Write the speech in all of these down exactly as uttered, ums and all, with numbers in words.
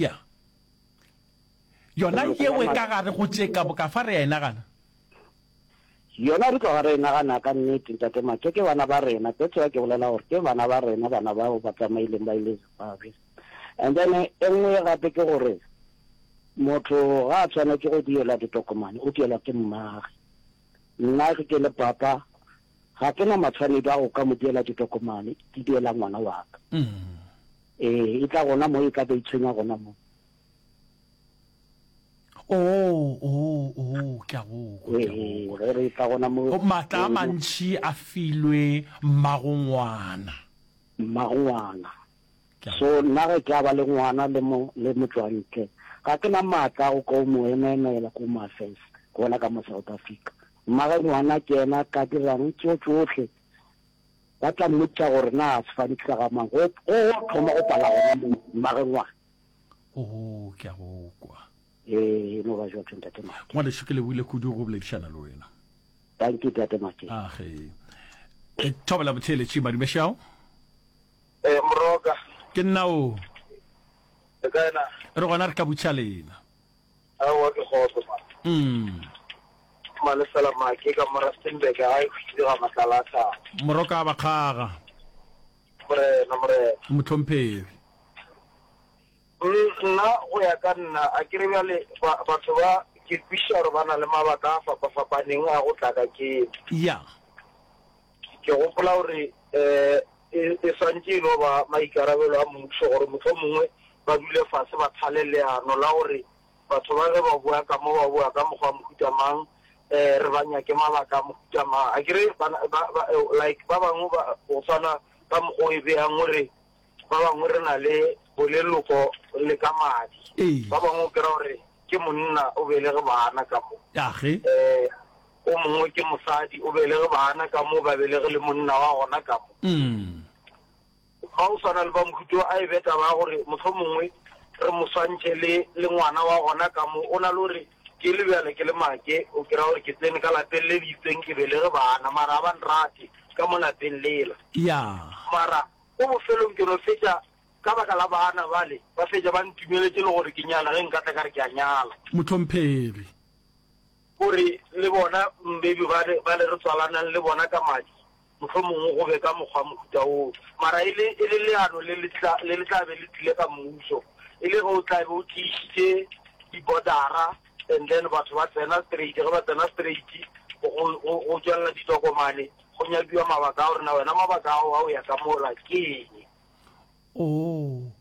Ya. Yona yeo e ka gare go tše ka boka fa re a e nagana. Yona re tloga re e nagana ka nnete, Ntate Make, ke bana ba rena. That's why ke bolela gore ke bana ba rena, bana bao ba tsamaileng ba ile Zimbabwe. And then e nngwe gape ke gore motho ga a tshwanetše go dielwa ditokomane, o dielwa ke mmage. Nna ge ke le papa, ga ke na matshwanedi a go ka mo diela ditokomane, ke diela ngwana wa ka. Ee, e tla gona mo e tla be e tshwenya gona mo. Oo, oo, oo, ke a go kwa, ke a go kwa. Ee, ge re tla gona mo. Maatla a mantši a filwe mmagongwana. Mmagongwana. So nna ge ke a ba le ngwana le mo, le motšwantle, ga ke na maatla a go ka o mo emaemela ko Home Affairs, gona ka mo South Africa. Mmage ngwana ke yena a ka dirang tšeo tšohle. Ba tla mmotša gore na sefane ke sa ga mang. Go, go, go thoma go pala gona mo, mmage ngwana. Oo, ke a go kwa. Ee, e no ba bjalo, Ntate Make. Ngwanešu, ke lebogile kudu go boledišana le wena. Thank you, Ntate Make. Age. Thobela motheeletši, Madumešao. Eh, Moroka. Ke nna o. Le kae na? Re gona re ka butša lena. Aowa ke kgotso man. Mm. Malesela Make ka mo Rustenburg ga e hwile ga matlala a thaba. Moroka a bakgaga. Morena, morena. Mohlomphegi. Mm, nna go ya ka nna a ke re bjale ba, batho ba ke kwešiša gore ba na le mabaka a fapafapaneng a go tla ka keno. Ya. Ke gopola gore um e, e swantše e no ba maikarabelo a mmušo gore mohlomongwe ba dule fase ba thale leano la gore batho ba ge ba boa ka mo ba boa ka mokgwa wa mohuta mang, um re ba nyake mabaka a mohuta mang. A ke re ba, ba, ba, like ba bangwe ba go swana ka mokgwa o e beyang gore ba bangwe re na le boleloko le ka madi. Ee. Ba bangwe o kry-a gore ke monna o belege bana ka mo. Age. Um o mongwe ke mosadi o belege bana ka mo, ba belege le monna wa gona ka mo. Mm. Ba go swana le ba mohuta o, a e be taba ya gore mohlomongwe re mo swantšhe le, le ngwana wa gona ka mo. O na le gore ke le bjale ke le make, o kry-a gore ke tsene ka lapeng le le itseng ke belege bana, mara ga ba nrate ka mo lapeng lela. Ya. Mara ko bofelong ke no fetša ka baka la bana bale, ba fetša ba ntumeletše le gore ke nyala ge nka tla ka re ke a nyala. Mohlomphegi. Gore le bona maybe bale, bale re tswalanang le bona ka madi, mohlomongwe go be ka mokgwa mohuta woo. Mara e le, e le leano le le tla, le le tla be le tlile ka mmušo, e le ge o tla be o tiišitše di-border-ra and then batho ba tsena straight, ge ba tsena straight go, go, go tšwelela ditokomane, go nyakiwa mabaka a gore na wena mabaka ao a o ya ka mola ke eng. Oh,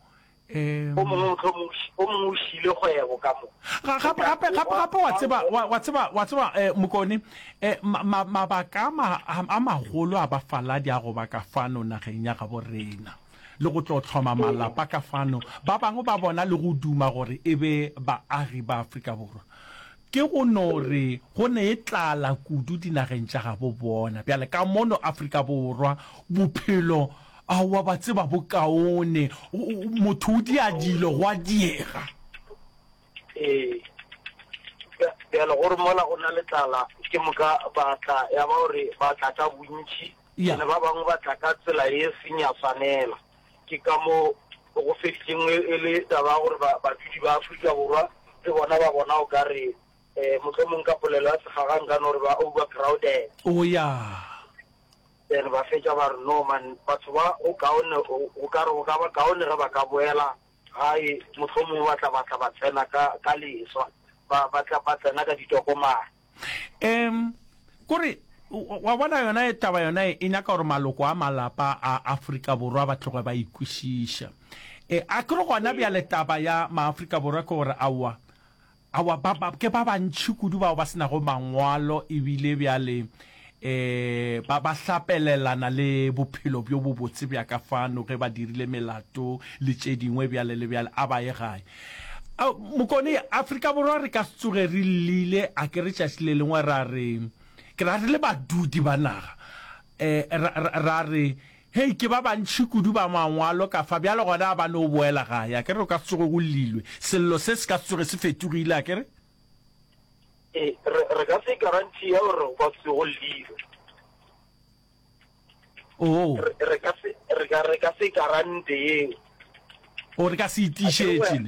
um. O mongwe mohlomongwe o ši-, o mongwe o šiile kgwebo ka mo. Ga, gape, gape, gape, gape wa tseba, wa, wa tseba, wa tseba, eh, Mokone, eh, ma, ma, mabaka a ma, a magolo a bafaladi a go ba ka fano nageng ya gabo rena, le go tlo hloma malapa ka fano, ba bangwe ba bona le go duma gore e be baagi ba Afrika Borwa, ke go no re go ne tlala kudu dinageng tša gabo bona. Bjale ka mono Afrika Borwa, bophelo, aowa, ba tseba bo kaone, motho o dia dilo gwa diega. Ee. Bjale gore mola go na le tlala, ke moka ba tla, ya ba gore ba tla ka bontši, ene ba bangwe ba tla ka tsela ye seng ya swanela. Ke ka mo go feditšeng e le taba ya gore badudi ba Afrika Borwa le bona ba bona o ka re, mohlomong ka polelo ya segaga nka no re ba overcrowded. Oh ya. Then ba fetša ba re, no man, batho ba go kaone, go ka re go ka ba kaone ge ba ka boela gae, mohlomongwe ba tla ba tla ba tsena ka, ka leswa, ba, ba tla ba tsena ka ditokomane. Um, kore, wa bona yona e taba yona e, e nyaka gore maloko a malapa a Afrika Borwa ba tloge ba ikwešiša. E, a ke re gona bjale taba ya Maafrika Borwa ke gore aowa, aowa, ba, ba, ke ba bantši kudu bao ba se nago mangwalo ebile bjale e, ba, ba hlapelelana le bophelo bjo bobotse bja ka fano ge ba dirile melato le tše dingwe bjale le bjale, a ba ye gae. A, Mokone, Afrika Borwa re ka se tsoge re llile, a ke re tšatši le lengwe ra re, ke ra re le badudi ba naga, e, ra, ra, ra re, Hei, ke ba bantši kudu ba mangwalo ka fa, bjale gona a ba no boela gae, a ke re o ka se tsoge go llilwe, sello se se ka se tsoge se fetogile, a ke re? Ee, re, re ka se guarantee gore go ka se tsoge go llilwe. Oo. Re, re ka se, re ka, re ka se guarantee yeo. O, re ka se e tiišetše, ne?